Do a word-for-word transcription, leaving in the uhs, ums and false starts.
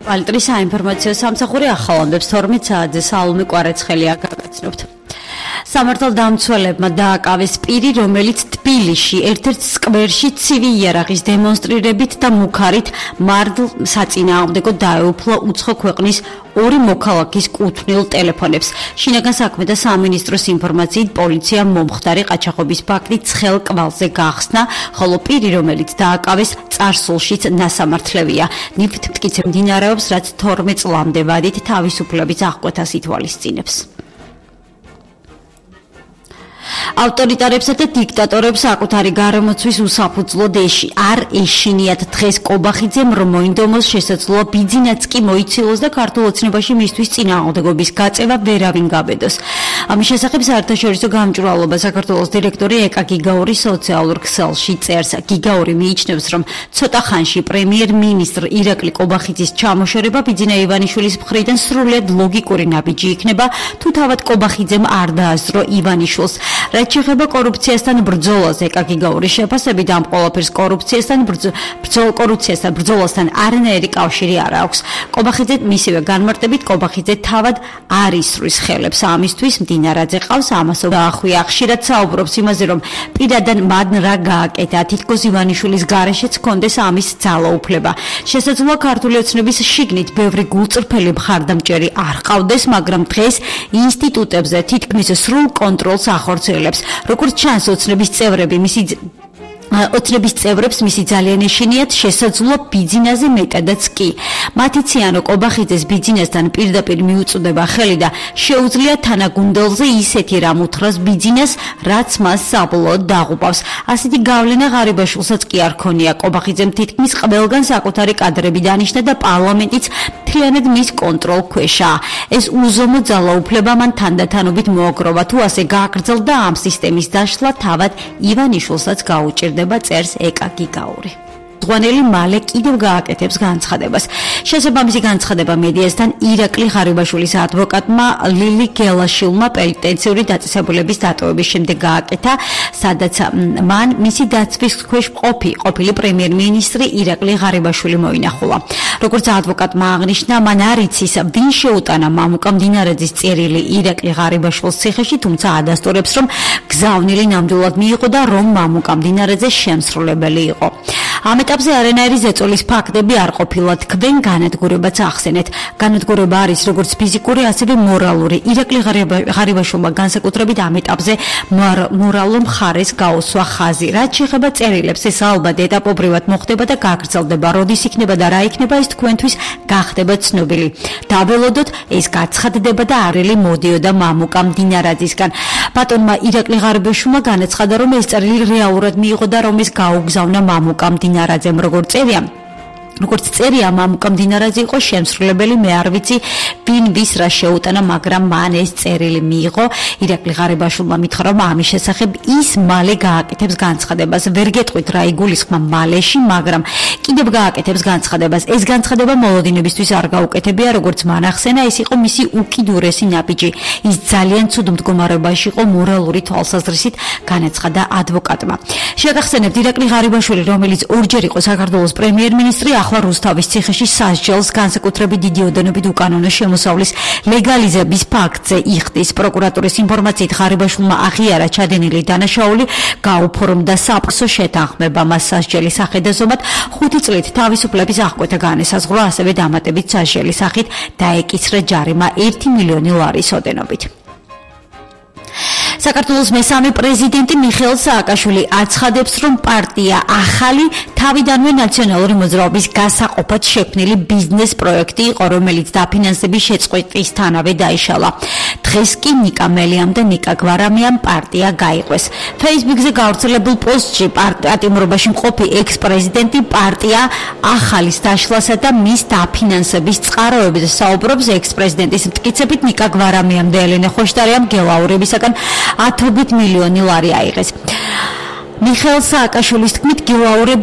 Valtris საინფორმაციო სამსახური ახალამდებს თორმეტ საათზე საალმე კვარაცხელია გაგაცნობთ. სამართალდამცველებმა დააკავეს პირი, რომელიც თბილისში ერთ-ერთ სკვერში ცივი იარაღის დემონსტრირებით და მუქარით მართლ საწინააღმდეგო დაეუფლა უცხო ქვეყნის ორი მოქალაქის კუთვნილ ტელეფონებს. შინაგან საქმეთა სამინისტროს ინფორმაციით პოლიციამ მომხდარი ყაჩაღობის ფაქტი ცხელ კვალზე გახსნა, ხოლო პირი, რომელიც დააკავეს, წარსულშიც ნასამართლევია. ნიფტ მტკიცე მდინარეობს, რაც თორმეტ წლამდე ვადით თავისუფლების აღკვეთას ითვალისწინებს. ავტორიტარებსა და დიქტატორებს საკუთარი გარემოცვის უსაფუძვლოდ ეში არ ეშინიათ დღეს კობახიძემ რომ მოინდომოს შესაძლოა ბიძინაც კი მოიცილოს და ქართულ ოცნებაში მისთვის წინააღმდეგობის გაწევა ვერავინ გაბედოს. ამის შესახებ საერთაშორისო გამჭვირვალობა საქართველოს დირექტორი ეკა გიგაური სოციალურ ქსელში წერს. გიგაური მიიჩნევს, რომ ცოტა ხანში პრემიერ-მინისტრ ირაკლი კობახიძის ჩამოშორება ბიძინა ივანიშვილის მხრიდან სრულიად ლოგიკური ნაბიჯი იქნება, თუ თავად კობახიძემ არ დაასწრო ივანიშვილს. რაც შეეხება კორუფციასთან ბრძოლას, ეკა გიგაურის შეფასებით ამ ყველაფერს კორუფციასთან ბრძოლ კორუფციასთან ბრძოლასთან არანაირი კავშირი არ აქვს. კობახიძე მისივე განმარტებით კობახიძე თავად არ ისრვის ხელებს ამისთვის. მდინარაძე ყავს ამასო დაახვია. ხშირად საუბრობს იმაზე, რომ პირადად მან რა გააკეთა, თითქოს ივანიშვილის გარეშეც ჰქონდეს ამის ძალაუფლება. შესაძლოა ქართული ოცნების შიგნით ბევრი გულწრფელი მხარდამჭერი არ ყავდეს, მაგრამ დღეს ინსტიტუტებზე თითქმის სრულ კონტროლს ახორციელებს. როგორც ჩანს, ოცნების წევრები მისი ოცნების წევრებს მისი ძალიან ეშინიათ, შესაძლოა ბიძინაზე მეტადაც კი. მათი ციანო კობახიძეს ბიძინასთან პირდაპირ მიუწვდება ხელი და შეუძლია თანაგუნდელზე ისეთი რამ უთხრას ბიძინას, რაც მას საბოლოოდ დაღუპავს. ასეთი გავლენა ღარიბაშვილსაც კი არ ქონია. კობახიძემ თითქმის ყველგან საკუთარი კადრები დანიშნა და პარლამენტიც მთლიანად მის კონტროლ ქვეშაა. ეს უზომო ძალაუფლება მან თანდათანობით მოაგროვა. თუ ასე გააგრძელდა ამ სისტემის დაშლა, თავად ივანიშვილსაც გაუჭირდება, წერს ეკა გიგაური. ზღვანელი მალე კიდევ გააკეთებს განცხადებას. შესაბამისი განცხადება მედიასთან ირაკლი ღარიბაშვილის ადვოკატმა ლილი გელაშვილმა პენიტენციური დაწესებულების დატოვების შემდეგ გააკეთა, სადაც მან მისი დაცვის ქვეშ ყოფი ყოფილი პრემიერ-მინისტრი ირაკლი ღარიბაშვილი მოინახულა. როგორც ადვოკატმა აღნიშნა, მან არ იცის, ვინ შეუტანა მამუკა მდინარაძის წერილი ირაკლი ღარიბაშვილის ციხეში, თუმცა ადასტურებს, რომ გზავნილი ნამდვილად მიიღო და რომ მამუკა მდინარაძე შემსრულებელი იყო. ამ ეტაპზე არანაირი ზეწოლის ფაქტები არ ყოფილა, თქვენ განადგურებაც ახსენეთ. განადგურება არის როგორც ფიზიკური, ასევე მორალური. ირაკლი ღარიბაშვილმა განსაკუთრებით ამ ეტაპზე მორალურ მხარეს გაუსვა ხაზი. რაც შეეხება წერილებს, ეს ალბათ ეტაპობრივად მოხდება და გაგრძელდება. როდის იქნება და რა იქნება, ეს თქვენთვის გახდება ცნობილი. დაველოდოთ, ეს გაცხადდება და არელი მოდიოდა მამუკა მდინარაძისგან. ბატონმა ირაკლი ღარიბაშვილმა განაცხადა, რომ ეს წერილი რეალურად მიიღო და რომ ეს გაუგზავნა მამუკა მდინარაძემ. როგორც წერია როგორც წერია, მამუკა მდინარაძე იყო შემსრულებელი, მე არ ვიცი ვინ ვის რა შეუტანა, მაგრამ მან ეს წერილი მიიღო. ირაკლი ღარიბაშვილმა მითხრა, რომ ამის შესახებ ის მალე გააკეთებს განცხადებას. ვერ გეტყვით რა იგულისხმა მალეში, მაგრამ კიდევ გააკეთებს განცხადებას. ეს განცხადება მოლოდინებისთვის არ გაუკეთებია, როგორც მან ახსენა, ეს იყო მისი უკიდურესი ნაბიჯი. ის ძალიან ცუდ მდგომარეობაში იყო მორალური თვალსაზრისით, განაცხადა ადვოკატმა. შეგახსენებთ, ირაკლი ღარიბაშვილი, რომელიც ორჯერ იყო საქართველოს პრემიერ-მინისტრი, ახლა რუსთავის ციხეში სასჯელს განსაკუთრებით დიდი ოდენობით უკანონო შემოსავლის ლეგალიზების ფაქტზე იხდის. პროკურატურის ინფორმაციით ღარიბაშვილმა აღიარა ჩადენილი დანაშაული, გაუფორმდა საფრთხო შეთანხმება მას სასჯელის სახედაზომად, ხუთი წლით თავისუფლების აღკვეთა განესაზღვრა, ასევე დამატებით სასჯელის სახით დაეკისრა ჯარიმა ერთი მილიონი ლარის ოდენობით. საქართველოს მესამე პრეზიდენტი მიხეილ სააკაშვილი აცხადებს, რომ პარტია ახალი თავიდანვე ნაციონალური მოძრაობის გასაყოფად შექმნილი ბიზნეს პროექტი იყო, რომელიც დაფინანსების შეწყვეტისთანავე დაიშალა. დღეს კი ნიკა მელიამ და ნიკა გვარამიამ პარტია გაიყვეს. Facebook-ზე გავრცელებულ პოსტში პარტიატიმრობაში მყოფი ექს-პრეზიდენტი პარტია ახალის დაშლასა და მის დაფინანსების წყაროებზე საუბრობს. ექს-პრეზიდენტის მტკიცებით, ნიკა გვარამიამ და ელენე ხოშტარიამ გელაურებისაგან ათობით მილიონი ლარი აიღეს. მიხეილ სააკაშვილის თქმით, გელაურები